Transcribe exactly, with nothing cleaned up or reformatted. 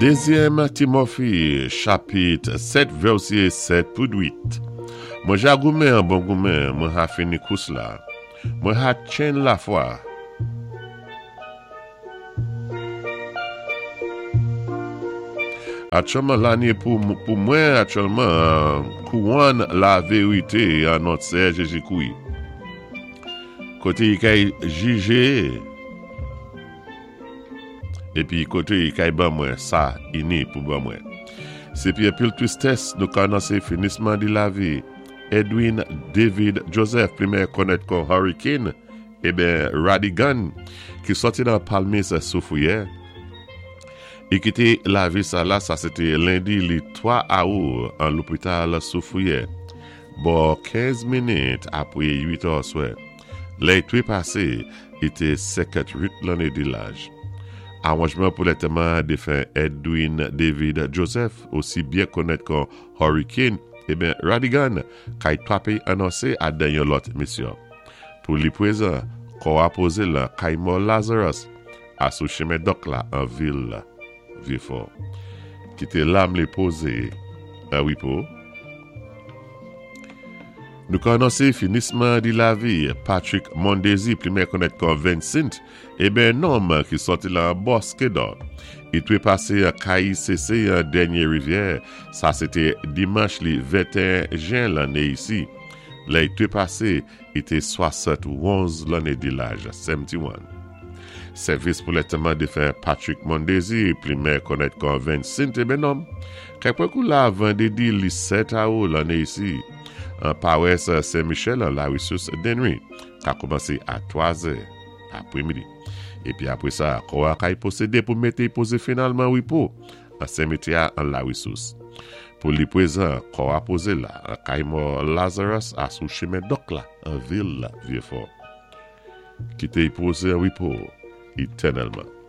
Dézyèm Timofi, chapit sèt vèsé sèt pou uit. Mwen ja goumen an bon goumen, mwen ha fini kous la. Mwen ha tjenn lafwa. Aktyèlman lanné pou, pou mwen aktyèlman kouwòn laverité an nòt Séyè Jézi-Kwi. Koté i kay jijé épi koté i kay ban mwen sa i ni pou ban mwen. Sé pi anpil twistès nou ka anonsé finisman di lavi Edwin David Joseph, pli konnèt kon Hurricane, eben Radigan, ki sòti nan Palmis Soufrière. I kité lavi sa la, sa sé té lendi li twa awou an lopital Soufrière. Bò kenz minit apwé uit è swè. Lè i twépasé, i té senkantwit lanné di laj. Awanjman pou lantèman défen Edwin David Joseph, osi byen konnèt kon Hurricane, eben Radigan, kay twapé anonsé adan yon lòt misyon. Pou li pwézan, kò a pozé lan kay mò Lazarus, a sou chimen Dòk la an vil Vyéfò. Kité lam li pozé an wépo. Nou ka anonsé finisman di lavi Patrick Mondésir, pli konnèt kon Vincent, eben nonm ki sòti lan Bosquet-d'Or. I twépasé an K I C C an Dènyé Rivyè, sa sé té dimanch li venteyen jen lanné isi. Lè i twépasé, i té swasant-onz lanné di laj, seventy-one. Sèvis pou lantèman défen Patrick Mondésir, pli konnèt kon Vincent, eben nonm, kay pwan kou la vandédi li sèt awou lanné isi, an pawès Saint-Michel an la Ressource Dennery, ka kòmansé a twa zè apwémidi. Épi apwé sa, kò a kay pwosédé pou mété pozé finalman wépo an simityè an la Ressource. Pou li pwézan, kò a pozé la, an kay mò Lazarus a sou chimen Dòk la, an vil Vyéfò. Kité i pozé an wépo, étènèlman.